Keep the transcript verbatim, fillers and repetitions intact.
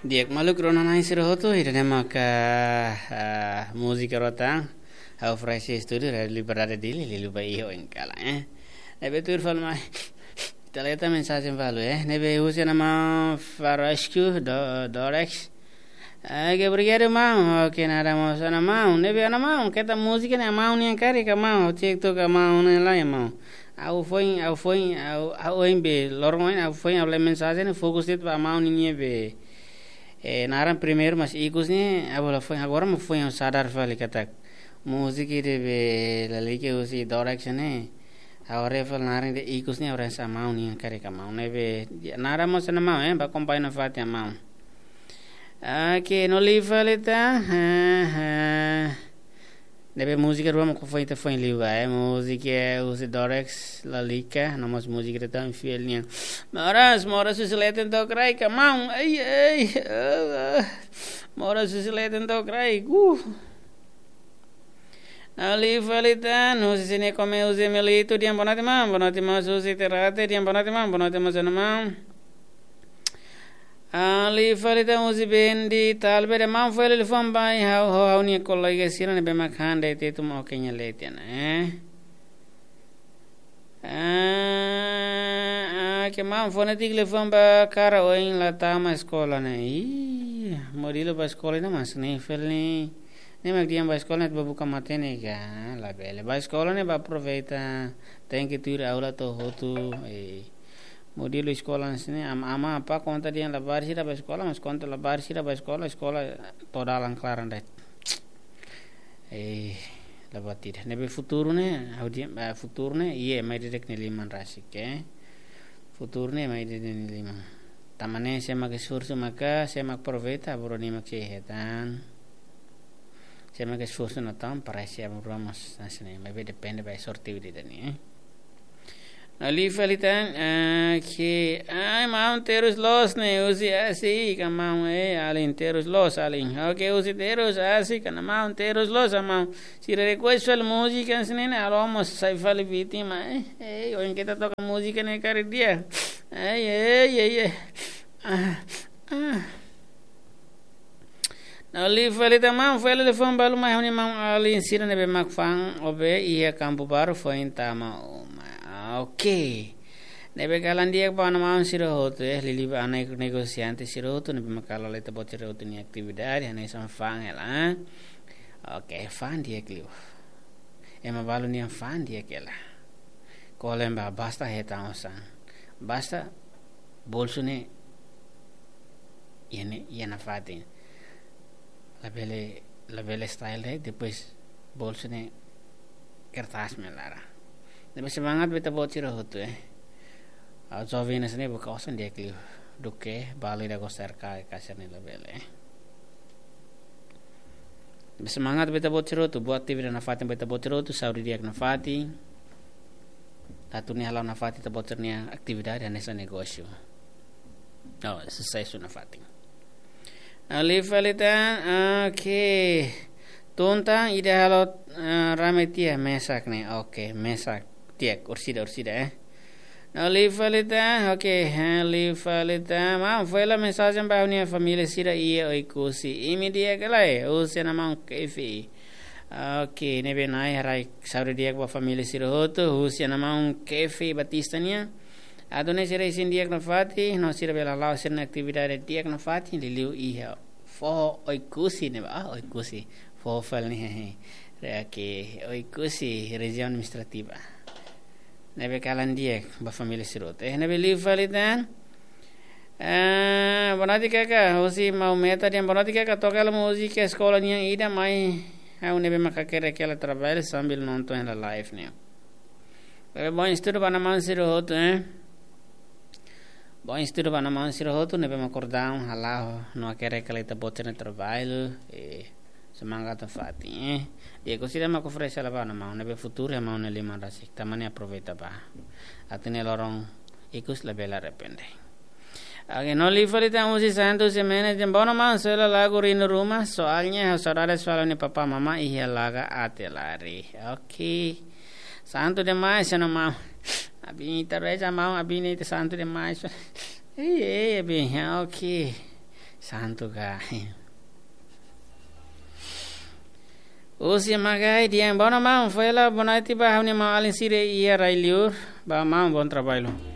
Di'ak maluk rona-na'in sira hotu, ida-ne'e maka, ah, múzika rota. Ha'u fresh studio, Rádio Liberdade Dili, liuliu ba iha oin kalan, eh. Ne'ebé tuir fali mai. Ita leta mensajen balu, eh. Ne'ebé husi ana maun Farasku, do, Dorex. Oke, obrigadu, maun. Oke, nada mós, ana maun. Ne'ebé, ana maun, keta múzika ne'e maun nian karik ka maun. Ha'u cek tok ka maun ne'e lae, maun. Ha'u foin, ha'u foin, ha'u, ha'u ohin be, loron ohin, ha'u foin, ha'u lee mensajen, fokus de'it ba maun nian be. Eh, naran primeiru, mas ikus ne'e, ha'u la foin, agora mak foin ha'u sadar fali katak múzika ida be lalika husi Dorex ne'e. Ha'u haree fali naran ida ikus ne'e, ha'u haree hanesan maun nian karik ka maun. Ne'ebé, nada mós, ana maun, eh, bá akompaña nafatin, maun. Oke, no liu fali tan. Ha, ha. Ne'ebé múzika rua mak foin ita foin liu ba, eh. Múzika husi Dorex, lalika, no mós múzika ida tan fiel nian. Moras, moras husi leten to'o kraik ka maun. Ei, ei, ah, ah. Moras husi leten to'o kraik. Uh. No liu fali tan, husi sini kome husi Melito, di'ak bonoite maun, bonoite maun husi Terate, di'ak bonoite maun, bonoite maun, ana maun. Ah, liu fali tan husi Bendi, talvez de maun fali liafuan ba ha'u, ha'u, ha'u-nia kolega sira ne'ebé mak han de'it atu maun oke nia leten, eh. Ah, ah, ke maun fó netik liafuan ba Kara ohin la tama eskola ne'e. Ih, modelo ba eskola ne'e mas ne'e fali ne'e. Ne'e mak dehan ba eskola ne'e ba buka matenek ka, labele. Ba eskola ne'e ba aproveita, tenke tuir aula to'o hotu, eh. Modelo eskola sini, am-, ama apá konta dehan labarik sira ba eskola, mas konta labarik sira ba eskola, eskola to'o dalan klaran de'it. Eh, la buat ida. Ne'ebé futuru ne'e, ha'u dehan, eh, futuru ne'e, iha ema ida-idak nia liman rasik, eh. Futuru ne'e ema ida-idak nia liman. Tanba ne'e sé mak esforsu maka, sé mak aproveita, aban-bainrua nia mak sei hetan. Sé mak esforsu no tan, para sé aban-bainrua mós, hanesan ne'e, maibé depende ba sorte ida-ne'e, eh. No liu fali tan, ah, ke, ai, maun terus loos ne'e, husi asi, ka maun, eh, alin terus loos, alin. Oke, husi terus asi, ka maun terus loos, ah, maun. Sira request fali múzika hanesan ne'e, ha'u mós sai fali vítima, eh, eh, ohin keta toka múzika ne'e karik di'ak. Ai, ai, ai, ai. Ah, ah. No liu fali tan maun, fó liafuan balu mai ha'u-nia maun alin sira ne'ebé mak fa'an obe iha Kampu Baru foin tama uma. Ah, oke. Ne'ebé kalan di'ak ba ana maun sira hotu, eh, liuliu ba ana negosiante sira hotu, ne'ebé mak halo ita-boot sira hotu nia atividade, hanesan fa'an hela, eh. Oke, fa'an di'ak liu. Ema balu nian fa'an di'ak hela. Kolen ba basta hetan osan. Basta bolsu ne'e iha ne'e, iha nafatin. Labele, labele style de'it, depois bolsu ne'e kertas mak iha laran. Ne'ebé semangat ba ita-boot sira hotu, eh. Ha'u joven hanesan ne'e buka osan di'ak liu. Duké balu ida goser ka, ka hanesan ne'e labele, eh. Ne'ebé semangat ba ita-boot sira hotu, buat atividade nafatin ba ita-boot sira hotu, saúde di'ak nafatin. Atu nune'e hala'o nafatin ita-boot sira-nia atividade hanesan negósiu. Oh, susesu nafatin. No liu fali tan, oke. Tun tan ida halo, eh, rame tiha mesak ne'e. Oke, mesak. Di'ak, orsida, orsida, eh. No liu fali tan, oke, ha, liu fali tan. Maun, fó hela mensajen ba ha'u-nia família sira iha Oekusi. Imi di'ak ka lae, husi ana maun Kefi. Oke, ne'ebé Nai haraik saúde di'ak ba família sira hotu, husi ana maun Kefi Batista nian. Atu nune'e sira isin di'ak nafatin, no sira bele hala'o sira-nia atividade di'ak nafatin, liuliu iha foho Oekusi ne'ebá, ah, Oekusi. Foho fali ne'e, eh, eh. Re-, oke, Oekusi, rejiaun administrativa. Ne'ebé kalan di'ak ba família sira hotu. Eh, ne'ebé liu fali tan. Eh, bonoite kaka, husi maun Meta dehan bonoite kaka, toka hela múzika eskola nian ida mai. Ha'u ne'ebé mak hakerek hela traballu sambil nonton hela live ne'e. Ne'ebé bom estudu ba ana maun sira hotu, eh. Bom estudu ba ana maun sira hotu, ne'ebé mak kordau hala'o no hakerek hela ita-boot sira-nia traballu, eh, semangat nafatin, eh. Di'ak, orsida mak oferese hela ba ana maun, ne'ebé futuru iha maun nia liman rasik, tanba ne'e aproveita ba. Atu nune'e loron ikus labele arrepende. Oke, no liu fali tan husi Santos Jimenez dehan, bom, maun, só hela lagu Rindu Ruma, soalnya ha'u saudades fali ha'u-nia papá mamá iha Laga Atelari. Oke. Santu demais, ana maun. Abin ita reza maun, abin ne'e ita santu demais. Ei, ei, abin, ah, oke. Santu ka. Husi Magai dehan: Bono maun, fó hela boa noite ba ha'u-nia maun-alin sira iha rai-li'ur, ba maun, bom trabalho.